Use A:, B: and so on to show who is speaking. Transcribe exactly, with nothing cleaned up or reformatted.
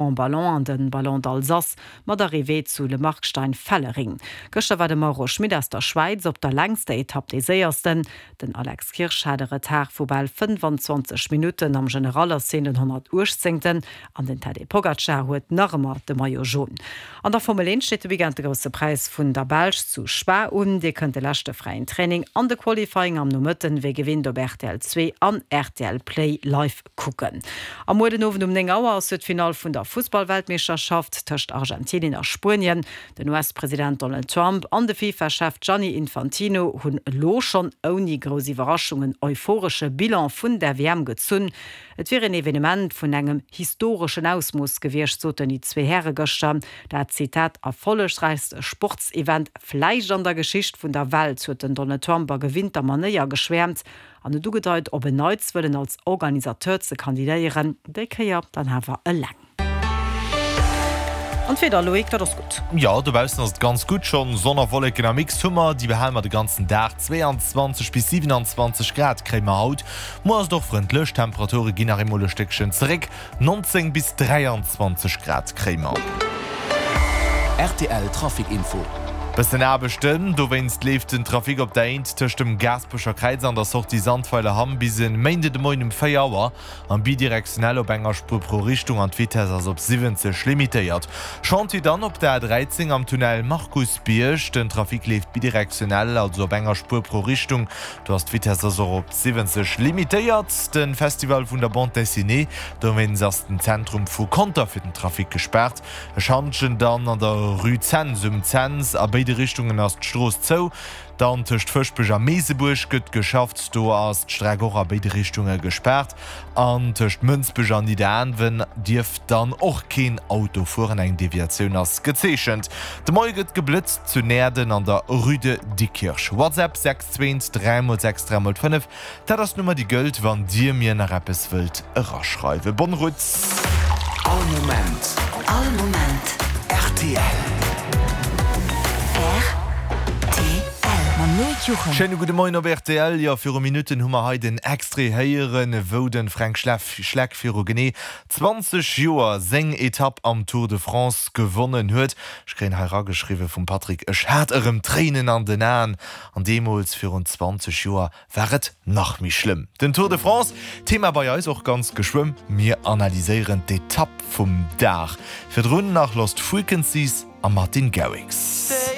A: Grand Ballon an de Ballon d'Alsace mat Arrivée zu Le Markstein-Fellering. Gëschter war de Mauro Schmit aus der Schwäiz op der längster Etapp dee Séiersten. Den Alex Kirsch hat e Retard vu bal fënnfanzwanzeg Minutten, am General ass hien den honnertuechtzéngten an den Tadej Pogacar huet nach ëmmer de Maillot Jaune. An der Formel eent steet de Weekend de Grousse Präis vun der Belsch zu Spa un. Dir kënnt de leschte fräien Training an de Qualifying am Nomëtten wéi gewinnt op rtl zwee an rtl Play live kucken. A muer den Owend um néng Auer ass jo d'Finall vun der Fussballweltmeeschterschaft tëscht Argentinien a Spuenien. Den U S-President Donald Trump an de FIFA-Chef Gianni Infantino hunn elo schonn ouni grouss Iwwerraschung en euphoresche Bilan vun der W M gezunn. Et wier en Evenement vun engem historeschen Ausmooss gewiescht, soten déi zwee Häre gëschter. Dat, Zitat, erfollegräichst Sportsevent vläicht an der Geschicht vun der Welt, huet den Donald Trump a gewinnter Manéier geschwäermt an huet ugedeit, op en Neits wëllen als Organisateur ze kandidéieren, déi Kéier dann awer eleng. An d'Wieder, Loïc, dat ass gutt.
B: Jo, dobaussen ass et ganz gutt schonn. Sonn a Wolleken am Mix hu mer, déi behale mer de ganzen Dag. zwéianzwanzeg bis siwenanzwanzeg Grad kréie mer haut. Muer ass et och frëndlech, d'Temperature ginn nach eemol e Stéckchen zeréck, nonzéng bis dräianzwanzeg Grad kréie mer.
C: Rtl Trafic Info.
B: Bëssen Aarbechten, dowéinst leeft den Trafic op der Eent tëscht dem Gaasperecher Kräiz an der Sortie Sandweiler Hamm bis e Méinde de Moien um véier Auer am bidirektionell op enger Spuer pro Richtung an d'Vitess ass op siwwenzeg limitéiert. Chantier dann op der A dräizéng am Tunnel Markusbierg, den Trafic leeft bidirektionell, also op enger Spuer pro Richtung, do ass d'Vitess ass och op siwwenzeg limitéiert. De Festival vun der Bande Dessinée, dowéinst ass den Zentrum vu Conter fir den Trafic gespaart. E Schantjen dann an der Rue Cents um Cents, a béide Richtungen ass d'Strooss zou. Dann tëscht Fëschbech a Meesebuerg gëtt geschafft, do ass d'Streck och a béide Richtunge gespaart. An tëscht Mënsbech an Nidderaanwen dierf dann och keen Auto fueren, eng Deviatioun ass gezeechent. De Moie gëtt geblëtzt zu Näerden an der Rue de Diekirch. WhatsApp sechs zwee dräi mol sechs dräi mol fënnef, dat ass d'Nummer déi gëllt, wann Dir mir nach eppes wëllt eraschreiwen. Bonne route!
C: All Moment.
D: All Moment.
C: Rtl.
D: Rtl. Mam Loïc Juchem.
B: Schéine gudde Moien op rtl. Jo, viru Minutten hu mer hei den Extrait héieren, wou de Fränk Schleck viru genee zwanzeg Joer seng Etapp am Tour de France gewonnen huet. Ech kréien hei erageschriwwe vum Patrick, Ech hat erëm Tréinen an den Aen. An deemools, virun zwanzeg Joer, war et nach méi schlëmm. Den Tour de France, Thema bei eis och ganz geschwëmm. Mir analyséieren d'Etapp vum Dag. Virdrun nach Lost Frequencies a Martin Garrix.